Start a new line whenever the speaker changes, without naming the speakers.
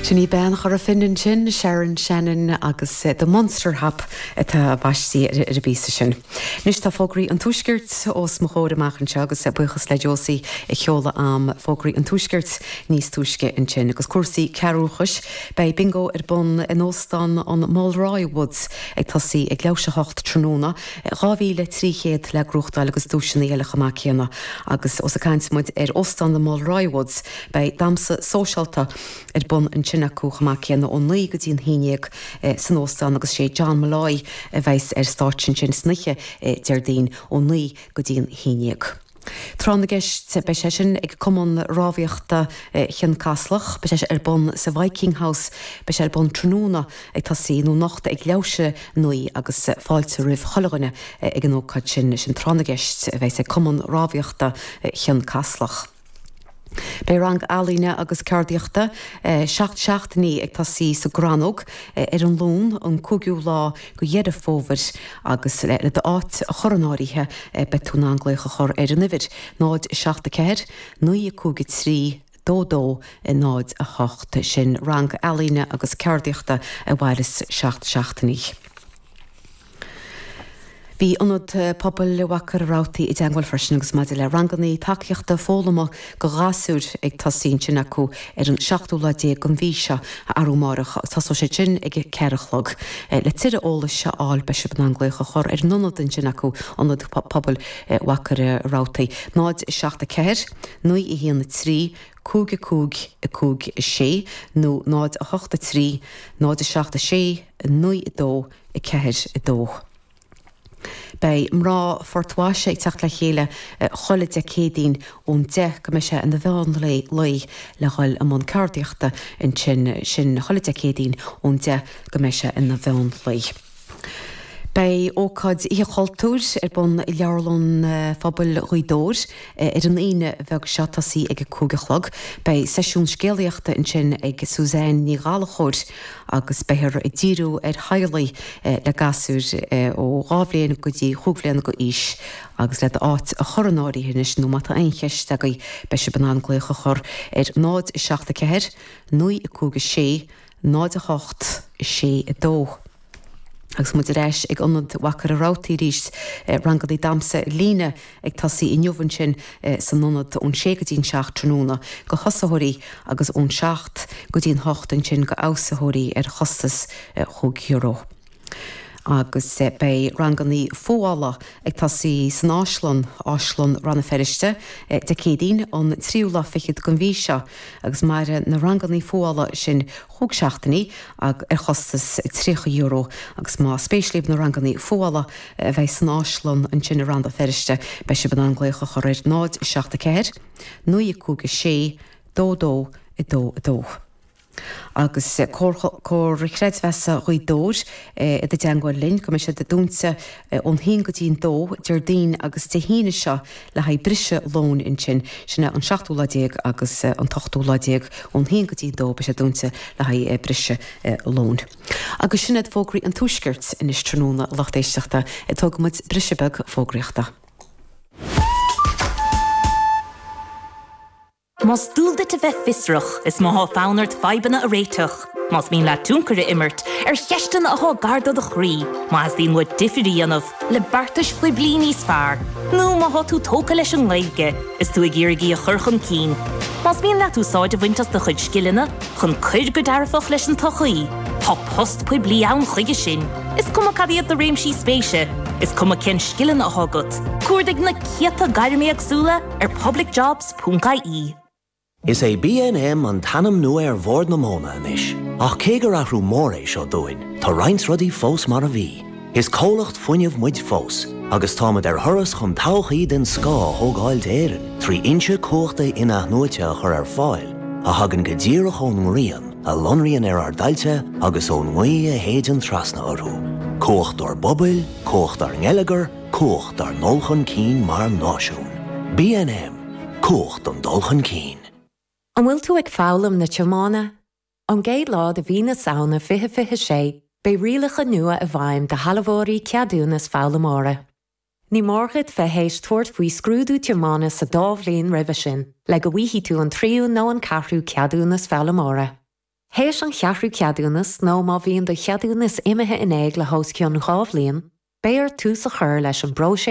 Sin í bean Chora Finne ansin, Sharon Shannon agus The Munster Hop atá baistí ar an bpíosa sin. Anois tá fógraí an Tuaiscirt os mo chomhair amach anseo agus buíochas le Josie a sheol agam fógraí an Tuaiscirt níos túisce ansin. Agus cúrsaí cearrbhachais, beidh bingo ar bun in Óstán an Mulroy Woods ag tosaí ag leathuair théis 8 tráthnóna, 2,300 le gnóthachtáil agus duaiseanna eile chomh maith céanna. Agus ós ag caint muid ar Óstán an Mulroy Woods, Beidh damhsa sóisialta ar bun ansin acu chomh maith céanna ó 9 go dtí an 11 san óstán agus sé John Molloy a bheas ar stáitse ansin san oíche Déardaoin ó 9 go dtí an 11. Tráth na gCeist, beidh sé sin ag Cumann Rámhaíochta Chionn Caslach. Beidh sé ar bun sa Viking House. Beidh sé ar bun tráthnóna ag tosaí nó anocht ag leathuair théis 9 agus fáilte roimh chuile dhuine ag an ócáid sin. Sin Tráth na gCeist a bheas ag Cumann Rámhaíochta Chionn Caslach. Beidh rang ealaíne agus ceardaíochta 7 seachtainí ag tosaí sa gCrannóg ar an Luan an 5ú lá de Dheireadh Fómhair agus le d'áit a chur in áirithe beidh tú in ann glaoch a chur ar an uimhir 0 7 4 9 5 3 2 2 0 8. Sin rang ealaíne agus ceardaíochta a mhairfeas 7 seachtainí. Bhí Ionad Pobail Mhachaire Rabhartaigh i dteangmháil freisin agus maidir le ranganna tacaíochta foghlama do ghasúir ag tosaí ansin acu ar an seachtú lá déag den mhí seo, arú amárach, agus tosóidh siad sin ag a ceathair a chlog. Le tuilleadh eolais a fháil beidh sibh in ann glaoch a chur ar an ionad ansin acu, Ionad Pobail Mhachaire Rabhartaigh, 0 7 4 9 1 3 5 5 5 6 nó 0 8 3 0 7 6 9 2 4 2. Beidh mná Phort Laoise ag teacht le chéile chuile Dé Céadaoin ón 10 go mbeidh sé ina mheán lae le dhul i mbun ceardaíochta ansin, sin chuile Dé Céadaoin ón 10 go mbeidh sé ina mheán lae. Beidh ócáid Oíche Chultúir ar bun i Leabharlann Phobail Ghaoth Dobhair ar an Aoine bheag seo, tosaí ag a 5 a chlog. Beidh seisiún scéalaíochta ansin ag Suzanne Ní Ghallchóir agus beifear ag díriú ar theaghlaigh le gasúir ó 2 bhliain go dtí chúig bhliana d'aois agus le d'áit a chur in áirithe anois nó má tá aon cheist agaibh beidh sibh in ann glaoch a chur ar 0 7 4 9 5 6 0 8 6 2. Agus muid ar ais ag Ionad Mhachaire Rabhartaigh arís, ranganna damhsa ar líne ag tosaí inniu ansin san ionad ón sé go dtí an 7 tráthnóna go thosaitheoirí agus ón 7 go dtí an 8 ansin go fheabhsaitheoirí ar chostas €5. Agus beidh ranganna fuála ag tosaí san Áislann, Áislann Rann na Feirste, Dé Céadaoin an tríú lá fichead den mhí seo agus mairfidh na ranganna fuála sin chúig seachtainí ar chostas €30 agus má spéis libh na ranganna fuála a bheidh san Áislann ansin i Rann na Feirste beidh sibh in ann glaoch a chur ar 0 7 4 9 5 6 2 2 2 2. Agus Comhar Creidmheasa Ghaoth Dobhair i dteangmháil linn go mbeidh siad dúnta ón haon go dtí an dó Déardaoin agus Dé hAoine seo le haghaidh briseadh lóin ansin. Sin é an seachtú lá déag agus an t-ochtú lá déag ón haon go dtí an dó beidh sé dúnta le haghaidh briseadh lóin. Agus sin iad fógraí an Tuaiscirt anois tráthnóna, a lucht éisteachta. Tógfaidh muid briseadh beag fógraíochta.
Más dual duit a bheith fiosrach, is má thá fonn ort fadhbanna a réiteach, más mian leat tionchar a imirt ar cheisteanna athá gar do do chroí, má theastaíonn uait difir a dhéanamh le beartais phoiblí níos fearr, nó má thá tú tógtha leis an nGaeilge is tú ag iarraidh í a chur chun cinn, más mian leat úsáid a bhaint as do chuid scileanna chun cuir go dearfach leis an tsochaí, tá post poiblí ann chuige sin. Is cuma cad iad do réimsí spéise, is cuma cén scileanna athá agat, cuardaigh na céadta gairm éagsúla ar publicjobs. Ponc ie.
Is é BNM an t-ainm nua ar Bhord na Móna anois, ach cé gur athrú mór é seo dúinn, tá roinnt rudaí fós mar a bhí. Is comhlacht fuinnimh muid fós, agus táimid ar thuras chun todhchaí den scoth a thógáil d'Éirinn trí fhoinse cumhachta in-athnuaite a chur ar fáil a thagann go díreach ón ngrian a lonraíonn ar ár dtailte agus ón ngaoth a shéideann trasna orthu. Cumhacht dár bpobail, cumhacht dár ngeilleagar, Cumhacht dár ndul chun cinn mar náisiún. BNM, Cumhacht don dul chun cinn.
An bhfuil tú ag foghlaim na tiomána? Ón gcéad lá de mhí na Samhna 2026, beidh rialacha nua i bhfeidhm do shealbhóirí ceadúnas foghlaimeora. Ní mór duit bheith théis tabhairt faoi scrúdú tiomána sa dá bhliain roimhe sin le go bhfaighidh tú an tríú nó an ceathrú ceadúnas foghlaimeora. Théis an cheathrú ceadúnas nó má bhíonn do cheadúnas imithe in éag le hos cionn 2 bhliain, beidh ort tús a chur leis an bpróiseas.